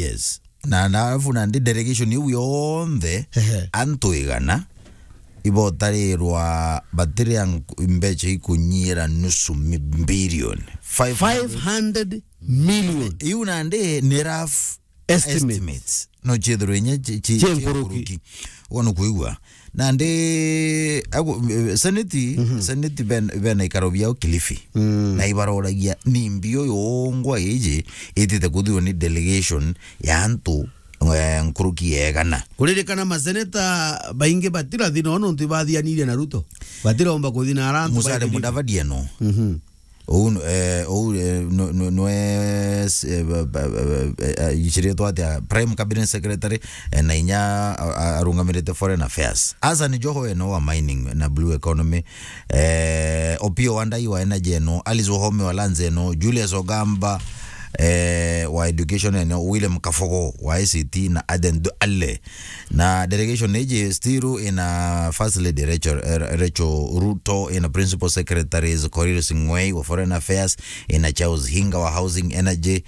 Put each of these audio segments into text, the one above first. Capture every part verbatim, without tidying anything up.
Yes. Na, na alafu nandi delegation iu yonthe, ehe, antu igana ibotarirwa batiria nk-, mbeca ikunyiira nusu mi-, billion. Five hundred. Five hundred million. Iu nandi ni rough estimate. Estimates. No ciithirwe inya ci-, ci-, cia nkuruki. Cia nkuruki. Uga nukwigua. Nandi, agu-, eh, seneti, mhm, seneti ben-, bena ikaro biao Kilifi. Mm. Na ibaroragia ni mbio yongwa iji itite kuthirwa ni delegation ya antu, eh, nkuruki ya igana. Kuririkana maseneta baingi batirathi no nontu ibathianirie na Ruto. Batiromba kuthi na ara antu. Musalia Mudavadi eno. Mhm. Ou, eh, ou, eh, no, no, nwe, eh, ba, ba, ba, ba, eh, eh, iciritwe atia? Prime Cabinet Secretary, eh, na inya a-, a-, arungamirite Foreign Affairs. Hassan Joho eno wa mining na blue economy. Eh, Opiyo Wandayi wa energy eno. Alice Wahome wa lands eno. Julius Ogamba, eh, wa education eno. William Kafogo wa I C T na Aden Duale. Na delegation iji still ina First Lady Rachel, eh, Rachel Ruto, ina Principal Secretaries Korir Sing'wei wa Foreign Affairs, ina Charles Hinga wa Housing Energy,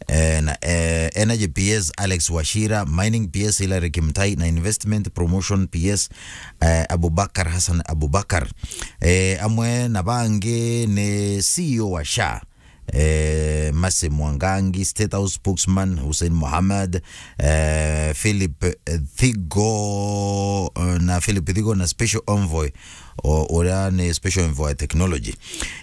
eh, na, eh, Energy P S Alex Wachira, Mining P S Hilary Kimtai, na Investment Promotion P S, eh, Abubakar Hassan Abubakar. Eh, amwe na bangi ni C E O wa SHA, eh, Mercy Mwangangi, State House Spokesman Hussein Mohamed, eh, Philip, eh, Thigo, eh, na Philip Thigo na Special Envoy, o-, uria ni Special Envoy Technology.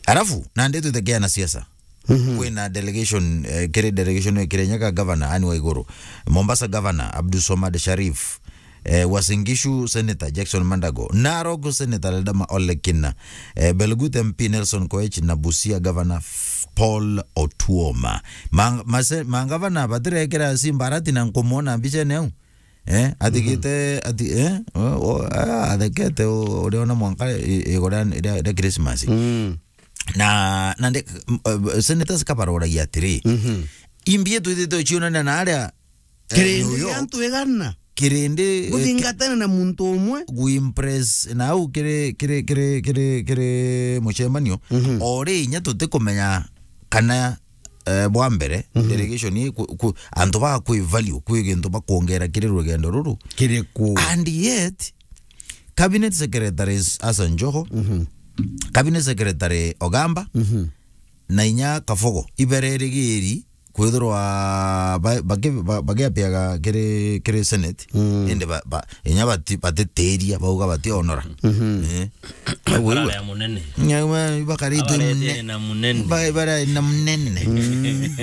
Alafu, nandi twite kia na siasa. Mhm. Kwina delegation, eh, kiri delegation ya Kirinyaga Governor Anne Waiguru, Mombasa Governor Abdul Somad Sharif, eh, Uasin Gishu Senator Jackson Mandago, Narok Senator Ledama Ole Kina, eh, Belgut M P Nelson Koech na Busia Governor F-, Paul Otuoma. Mang-, mase-, mangavana batirekera Simba arati na nkumwona mbicene au. Eh, athikite, mhm, ati, eh, o, o, a-, athekete u-, uriona mwanka i-, igora ria, ria Christmas. Mm. Na, na nde, m-, eh, senators kabaroragia atiri, mhm, imbi twithite tucionania na aria, eh, kirindi New York, gia antu igana. Kirindi, eh, guthingatana na muntu umwe. Guimpress na au kiri, kiri, kiri, kiri, kiri mucemanio. Mhm. Ori inya tutikumenya kana, eh, bwa mbere, mhm, delegation ii ku-, ku-, antu ba kwi value, kwi gintu bakwongera kiri rugendo ruru. Kiriku? And yet, Cabinet Secretaries Hassan Joho, mhm, Cabinet Secretary Ogamba, mhm, na inya Kafogo, ibererigiri kwithirwa ba-, baki-, ba-, bagiapiaga kiri, kiri Senate, mm, indi ba-, ba-, inya bati-, batitiria, bauga bationora. Mhm. Eh. Aguo iwe. Bararaya munene. Nyuma ibakaritwe. Abaretie mune-, na munene. Ba-, ibara na munene. Mm.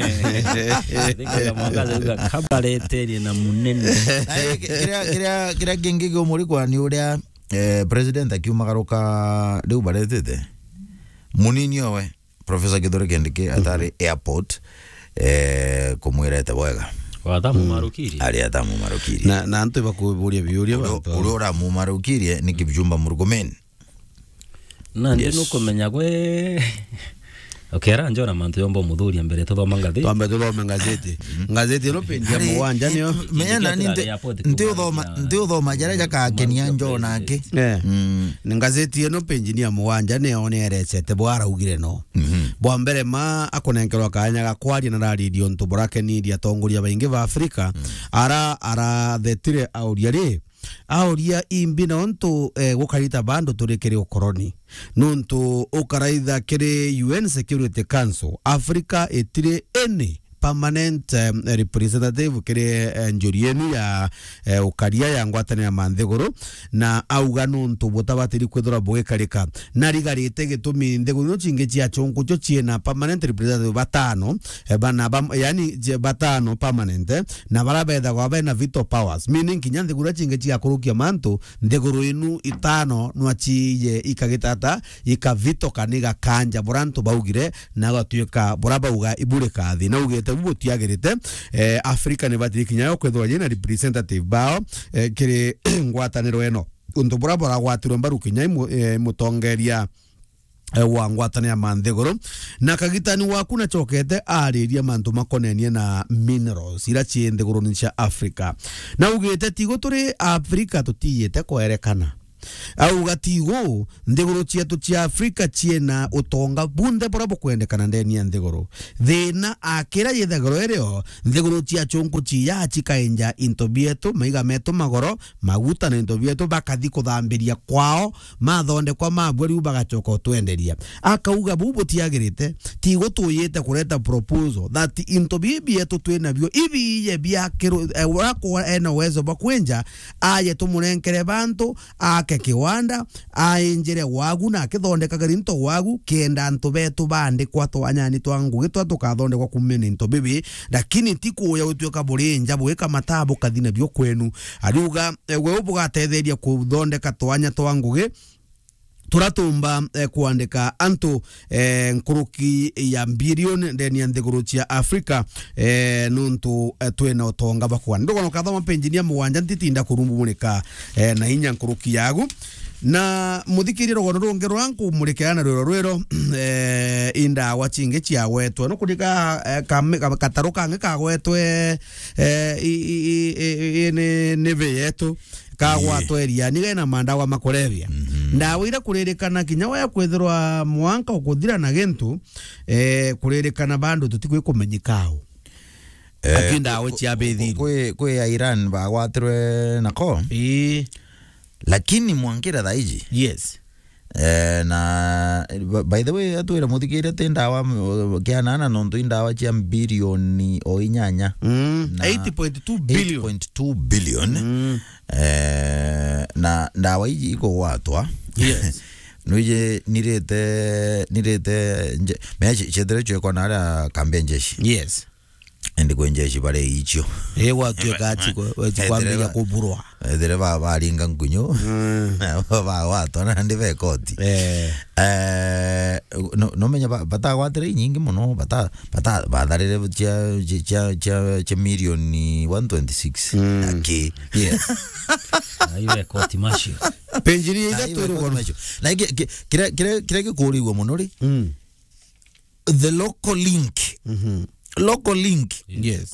Thikira mwangaza uga kabareterie na munene. Na ki-, kiria, kiria, kiria kingi kiumurikwa ni uria, eh, president akiumagaruka riu baretete. Munini owe. Professor Kithure Kindiki atari airport, eh, kumwira ete bwega. Watamumarukirie? Ari atamumarukirie. Na, na antu bakuburia biuria. Uria, bantu aba, uria uramumarukirie ni Kipchumba Murkomen. Na ndi, yes, nukumenya gwe, ukera njona mantu yomba umuthuria mbere tuthoma ngathiti. Twambe tuthome ngathiti. Ngathiti ino page ya mugwanja niyo. Menya nani nti-, nti uthoma, nti uthoma jaria jakakenia njona aki. Eh. Mm. Ni ngathiti ino page ni ya mugwanja niyo ni erecete bwa araugire no. Mhm. Bwa mbere ma akunenkerwa kanya ga kwaria na rariria untu burakenirie atongoria baingi ba Afrika, mm, ara, arathetire auria ri, auria imbi na untu, eh, gukarita bandu turi kiri ukoroni. Nuntu ukaraitha kiri U N Security Council, Africa itiri any permanent, em, representative kiri, eh, njuri yenu ya, eh, ukaria ya ngwataniro ya manthiguru, na auga nuntu butabatiri kwithirwa bugikarika. Na rigarite gitumi nthiguru ino cingi cia chunku cio ciina permanent representative batano, eh, bana bam-, yani, je, batano permanent, eh, na bara bethagwa bena veto powers, meaning kinya nthiguru iria cingi cigakurukia mantu, nthiguru inu itano nwa ciije ikagitata, ikavito kana igakanja bura antu baugire, na gatuika bura bauga iburi kathi. Na ugite bu butiagirite, eh, Africa ni batiri kinya yo kwithirwa yina representative bao, eh, kiri ngwataniro ino. Untu bura buragwatirwe mbaru kinya imu-, eh, mutongeria, eh, wa ngwataniro ya manthiguru. Na kagitani waku nachokete ariria mantu makonenie na minerals ira cii nthiguruni cia Africa. Na ugite tigo turi Africa tutiyite kwerekana. Auga tigu nthiguru cietu cia Afrika ciena utonga bunthe buria bukwendekana ndeni ya nthiguru. Thina akira yithagirwa irio nthiguru cia chunku ciya cikainja into bietu, maiga metu magoro, maguta na into bietu, bakathi kuthambiria kwao, mathondekwa mabua riu bagacoka utwenderia. Akauga buu butiagirite, tigu tuyite kureta proposal that into bibi bietu twinabio ibiye biakirwe, eh, uria kwa ena uwezo bwa kwinja, aye tumurenkere bantu, ake kiwanda, ainjire wagu na akithondekaga into wagu, kenda antu betu bandikwa twanyani twa ngugi twa tukathondekwa kumia na into bibi, lakini ti kuya gutuika burinja bwika mataa bukathi nabio kwenu. Ariuga, eh, we bugatetheria kuthondeka twanya twa ngugi, turatumba, eh, kwandika antu, eh, nkuruki ya bilioni ndeni ya nthiguru cia Afrika, eh, nuntu, eh, twina utonga bwa kwana. Ndugona ukathoma penjini ya mugwanja ntitinda kurumbumurika, eh, na inya nkuruki yagu. Na muthikirie rugono rungi ruria nkumurikira na rwiro rwiro, eh, indawa cingi ciagwetwe. Nukurika, eh, kame-, ka-, kataru kangi kagwetwe, eh, i, i, i, i, i, ni, ni vi yetu. Kagwatwa iriani gena mandawa makurebia. Mhm. Ndawa ira kuririkana kinya waya kwithirwa mwanka ukuthira na gintu, eh, kuririkana bandu tutikwi kumenyikao. Eh, aki ndawa ku-, cia ku-, bethiri. Kwi, kwi ya Iran bagwatirwe nako. Ii. Lakini mwankira thaa iji. Yes. Eh, na, b-, by the way, atwire muthikiria ti ndawa, m-, kianana nontu i ndawa cia bilioni o inyanya. Mm, na eight point two billion. Eight point two billion. Mm. Eh, na ndawa iji ikugwatwa. Yes. Nwije nirite, nirite nje-, mea ci-, ciethire ciekwa na aria kambi ya njeshi. Yes. Indi kwi njeshi bari icio. Ii, gwatuika ati kwa-, ati kwambiriria kuburwa. Ethire ba-, baringa nkunyu. Mm. Bagwatwa nandi be koti. Eh. Eh, no-, nomenya ba-, batagwatire inyingi muno, bata-, bata-, batharire cia, cia, cia, cia, cia milioni one twenty-six. Mm. Aki. Yes. Na iwe koti macio. Penjini ya ithatu rugono. Na ingi, ki-, kiria, kiria, kiria gikurigwa muno ri? Mm. The local link. Mhm. Local link. Yes.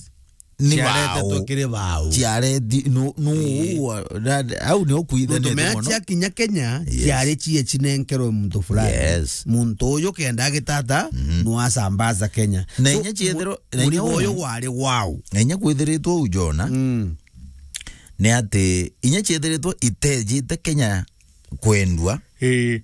Ni ciaretetwe bau. Kiri bau. Ciareti-, nu-, nu-, ii, wa-, na-, au ni ukuithanite muno. Nontu mea ciakinya Kenya, yes, ciari cie cinenkerwe muntu fulani. Yes. Muntu uyu kenda agitata, mhm, nwasambaza Kenya. Na so, inya ciethirwo, mu-, na inya murigo uyu u-, wari wau. Na inya kwithiritwe uu, Jona, mm, ni ati inya ciethiritwe itejite Kenya kwendua, ii,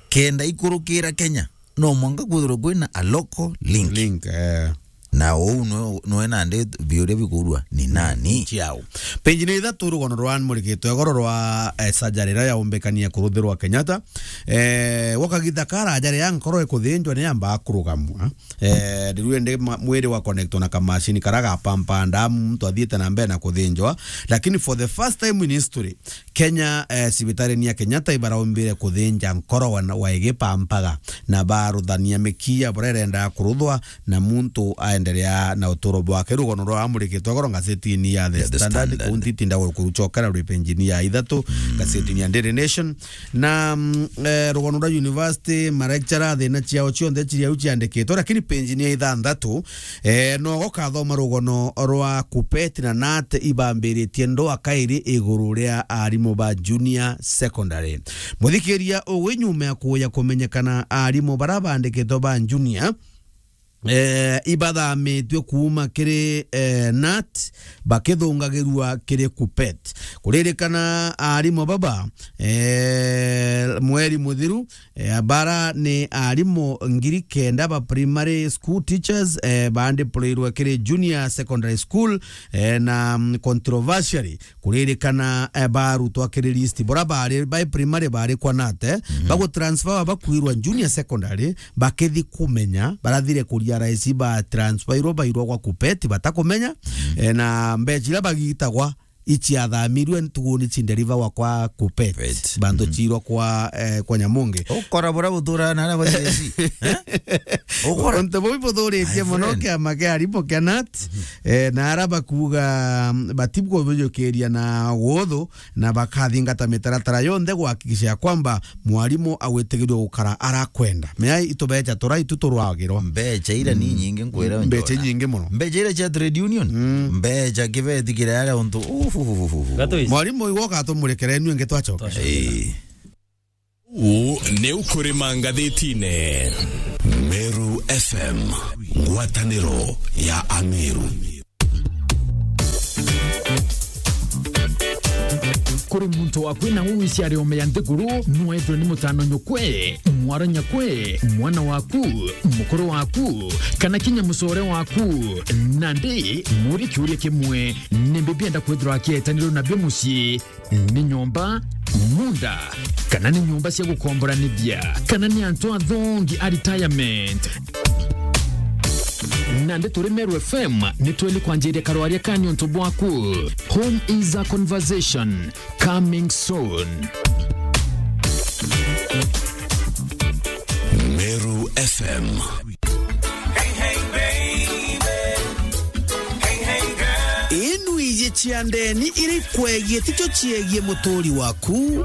kenda ikurukira Kenya, no mwanka kwithirwa kwina a local link. Link, eh. Na uu nwe, nwe nandi biuria bikurua ni nani? Ciao. Penjini ithatu rugono rwa murikitwe igoro rwa, eh, surgery iria yaumbikania kuruthirwa Kenyatta. Eh, gwa kagita karaja riria nkoro ikuthinjwa ni yambaa kurugamwa. Eh, riu indi ma-, mwiri wa connectwa na kamashini karia gapampa ndamu, muntu athiite na mbere na kuthinjwa. Lakini for the first time in history, Kenya, eh, cibitarini ya Kenyatta ibaraumbire kuthinja nkoro wa, wa igipampaga, na baruthania mikiya buria irendaga kuruthwa, na muntu aendelea na uturo bwake. Rugono rwa amurikitwe igoro ngazetini ya The, ya The Standard, Standard. Kuu ntitinda gukurucokera rwi penjini ya ithatu, mm, ngazetini ya Daily Nation. Na, mm, eh, rugono rwa university, ma lecturer, thina ciao cionthe ciri au ciandikitwe, lakini penjini ya ithanthatu, eh, nogo kathoma rugono rwa KUPPET na KNUT ibambiritie ndwa kairi iguru ria arimu ba junior secondary. Muthikiria, ugwi nyuma ya kuya kumenyekana arimu bara bandikitwe ba junior, eh, ibathamitue kuuma kiri, eh, KNUT bakithungagirua kiri KUPPET. Kuririkana arimu baba, eh, mweri muthiru, eh, bara ni arimu ngiri kenda ba primary school teachers, eh, bandiploirwe kiri junior secondary school, eh, na, mm, controversially, kuririkana, eh, barutwa kiri list. Bora bari, bai primary bari kwa KNUT, eh, mhm, bagutransfer bakwirwa junior secondary, bakithi kumenya, barathire kuria raisi ba transferirwo bairwa gwa KUPPET, batakumenya, mhm, eh, na mbeca iria bagitagwa iciathamirwe ntuguni cinderivawa kwa KUPPET. KUPPET. Bantu, mhm, ciirwa kwa, eh, kwa Nyamungi. Ukora bura butura na ara ba C S C. Eh? Ukora. Untu buu ibuthuritie, my friend, muno kiama kia arimu kia KNUT, mhm, eh, na ara bakuuga, mm, batibwo bujukiria na guthu, na bakathingata mitaratara yonthe kuhakikisha ya kwamba mwarimu agwitigirio gukara arakwenda. Mea itubeca tura itu turwagirwa. Mbeca ira ni, mm, nyingi nkwira, mbeca, Njona, nyingi muno. Mbeca ira cia trade union. Mm. Mbeca kibeti kiria aria untu, uu, Gatwisi. Mwarimu, igwe ugatumurekera inwe ingi twacoka. Twacoka. Ii. Uu ni ukurima ngathitine. Meru F M, ngwataniro ya Ameru. Kuri muntu waku na uu iciari ome ya nthiguru, nwethwe ni mutano nyukwe, mwaro nyakwe, mwana waku, mukuru waku, kana kinya mucore waku. Nandi, muri kiuria kimwe, nimbi bienda kwithirwa akietanirwo nabio mucii? Ni nyomba, munda, kana ni nyomba cia gukomboranithia, kana ni antu athongi a retirement? Nandi turi Meru F M, ni tweli kwanjiria karwaria ka niuntu bwaku. Home is a conversation, coming soon. Meru F M. Inu iji cia ndeni iri kwegie ticio ciegie muturi waku.